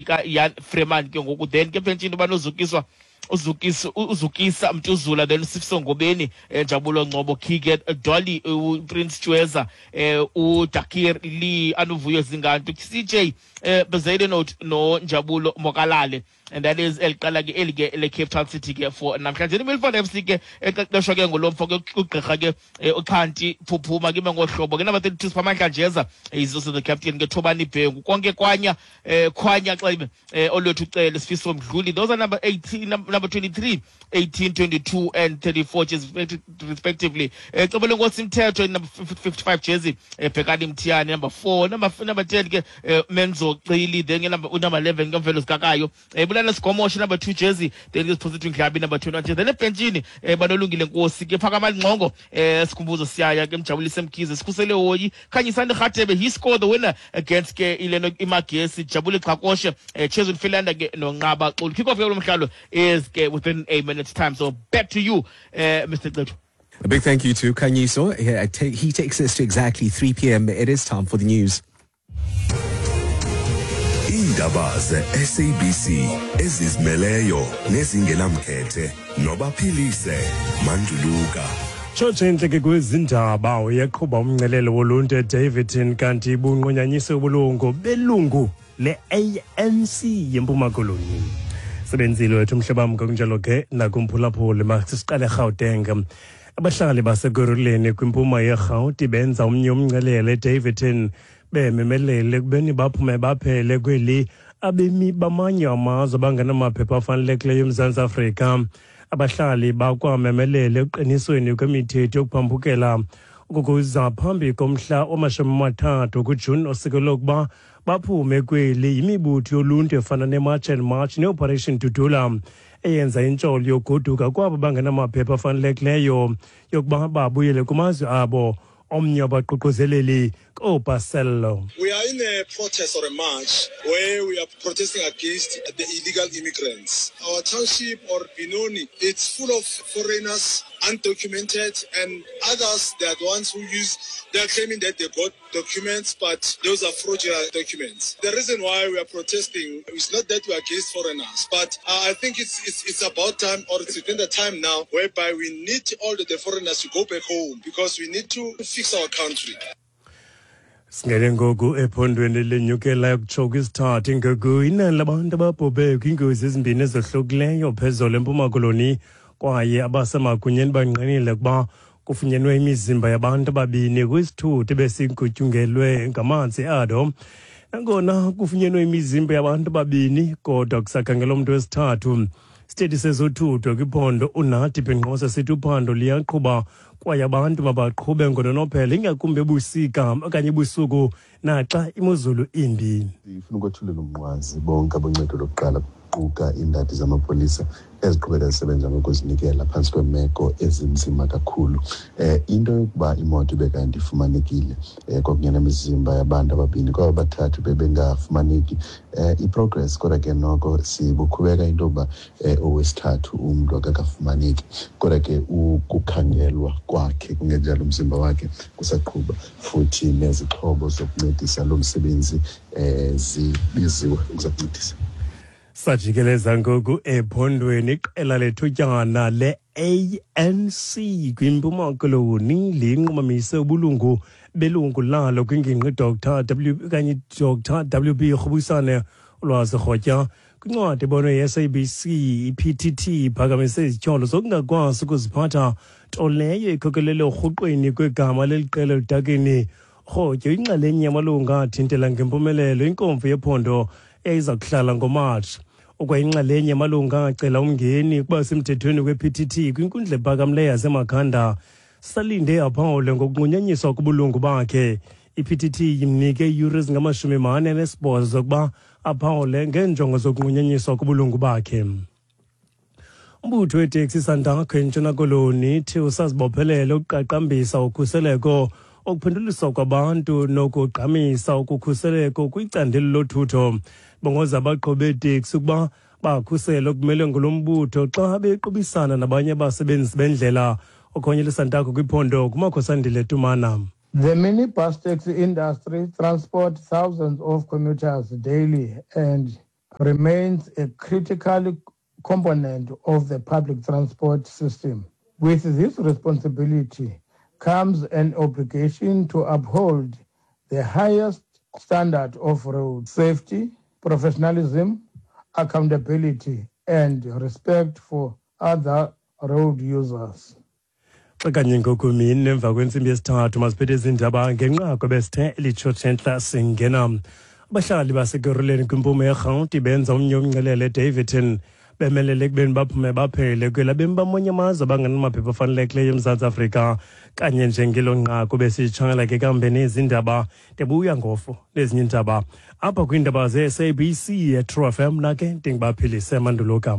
likaIan Freeman ke ngoku. Then ke ebhentshini banozukiswa uzukisa uzukisa Mtuzula, then uSifiso Ngobeni, Njabulo Ngcobo, Keegan Dolly, uPrince Chweza, uDakir Lee, Anuvuyo Zingantu, CJ Bezuidenhout noNjabulo Mokalale, and that is eliqala ke eli ke le-Cape Town City ke for namhlanje. IMilford FC ke eqeqeshwa ke ngulo mfo ke ugqirha ke uXhanti Phuphuma ke ngohlobo ke number 32 Siphamandla Njeza is also the captain ke Thobani Bhengu konke kwanya Khwanya Xebe, Olwethu Cele, Sifiso Mdluli. Those are number 18, number 23, 18, 22 and 34 jerseys respectively. Cebele Nkosi Mthetho number 55 jersey, Bhekani Mthiyane number 4, number 10 ke Menzo Xili, then ke number 11 ke Mvelo Zikakayo, Bulana Sigomoshe number 2 jersey, then ke Siphosethu Ndlabi number 21 jersey. Then ebhentshini banolungile Nkosi ke Phakamani Ngxongo, Sikhumbuzo Siyaya ke Mjabulise Mkhize, Sikhusele Hoyi, Khanyisani Rhatebe, he scored the winner against ke ileno iMagesi, Jabule Chakoshe, Chezun Philander ke noNqaba Xulu. Kick off ke lo mdlalo is ke within a minute's time. So back to you, Mr. Cethu. A big thank you to Khanyiso. He takes us to exactly 3 p.m. It is time for the news. Iindaba ze-SABC ezizimeleyo nezingenamkhethe nobaphilise Manduluka. Tshotshe intle ke kwezindaba, uyaqhuba umncelelo woluntu eDaveyton kanti bunqunyanyiswe ubulungu belungu le-ANC yeMpuma Koloni. Sebenzile wethu umhlabam ngokunjalo ke nakumphulaphuli. Masiqale eGauteng. Abahlali baseKurhuleni kwimpuma yeRhawuti benza omnye umncelele eDaveyton bememelele ekubeni baphume baphele kweli abemi bamanye amazwe abangenamaphepha afanelekileyo eMzantsi Afrika. Abahlali bakwamemelele ekuqinisweni kwemithetho yokuphambukela ukukuza phambi komhla wama-30 kuJuni osikelwe ukuba baphume kweli yimibutho yoluntu efana neMarch and March neOperation Dudula eyenza intsholo yogoduka kwabo bangenamaphepha afanelekileyo yokuba babuyele kumazwe abo. Omnye wabaququzeleli kooBarcelo. We are in a protest or a march where we are protesting against the illegal immigrants. Our township or Benoni, it's full of foreigners, undocumented, and others, they are the ones who use, they are claiming that they got documents, but those are fraudulent documents. The reason why we are protesting is not that we are against foreigners, but I think it's about time, or it's within the time now, whereby we need all the foreigners to go back home because we need to fix our country. Singene ngoku ephondweni lenyukela yokutsho kwisithathu ngoku inani labantu ababhubhe kwiingozi ezimbini ezohlukileyo phezolo eMpuma Koloni, kwaye abasemagunyeni bangqinile ukuba kufunyenwe imizimba yabantu ababini kwisithuthi besigutyungelwe ngamanzi ado. Nangona kufunyenwe imizimba yabantu ababini, kodwa kusakhangelwa umntu wesithathu. Isithethi sezothutho kwiphondo uNathi Binqose sithi uphando liyaqhuba kwaye abantu mabaqhube ngononophelo, ingakumbi ebusika okanye ebusuku naxa imozulu imbi. Ndifuna ukwethulela umnqwazi bonke aboncedo lokuqala, kuquka iindadi zamapolisa eziqhubeka zisebenza ngokuzinikela phantsi kweemeko ezinzima kakhulu. Into yokuba imoto ibe kanti ifumanekile, kwakunye nemizimba yabantu ababini, kwaba bathathu bebengafumaneki, i-progress, kodwa ke noko sibuqhubeka into yokuba owesithathu umntu akakafumaneki, kodwa ke ukukhangelwa kwakhe kungenjalo umzimba wakhe kusaqhuba, futhi nezixhobo zokuncedisa lo msebenzi zibiziwe ukuza kuncedisa. Sajikeleza ngoku ephondweni. Iqela lethutyana le-ANC kwiMpuma Koloni linqumamise ubulungu belungu lalo kwingingqi Dr W kanye Dr WB Rhubusane. Ulwazi Rhotya kwincwadi ebonwe yi-SABC, i-PTT iphakamise izityholo zokungakwazi ukuziphatha, nto leyo ikhokelele urhuqweni kwegama leli qela eludakeni. Rhotyo inxalenye yamalungu athintela ngempumelelo inkomfa yephondo eyayiza kuhlala ngoMatshi. Ukwayinxalenye yamalungu acela umngeni ukuba semthethweni kwe-PTT kwinkundla ephakamileyo yaseMakhanda. Salinde aphawule ngokunqunyanyiswa kubulungu bakhe. I-PTT imnike iiyure ezingama-48 zokuba aphawule ngeenjongo zokunqunyanyiswa kubulungu bakhe. Umbutho weteksi Santaco eNtshona Koloni ithi usazibophelele ukuqaqambisa ukhuseleko, ukuphenduliswa kwabantu nokugqamisa ukukhuseleko kwicandelo lothutho. Bongoza abaqhubi beeteksi ukuba bakhusele okumele ngulo mbutho xa bequbisana nabanye abasebenzi bendlela. Okhonye leSantaco kwiphondo kuMakhosandile Tumana. The minibus taxi industry transport thousands of commuters daily and remains a critical component of the public transport system. With this responsibility comes an obligation to uphold the highest standard of road safety, professionalism, accountability, and respect for other road users. Xa kanye ngoku mini emva kwentsimbi yesithathu, masiphethe izindaba ngenqaku ebesithe litshotshe entla singena. Abahlali basekuruleni kwimpumo yeRhawuti benza omnye umncelele eDaveyton, bemelele ekubeni baphume baphele kwela bemi bamanye amazwe abangenamaphepha afanelekileyo eMzantsi Afrika. Kanye njengelo nqaku besitshangela ke kambe nezindaba, ndibuya ngofo nezinye iindaba apha kwiindaba ze-SABC eTrue FM. Mna ke ndingubaphilise Manduluka.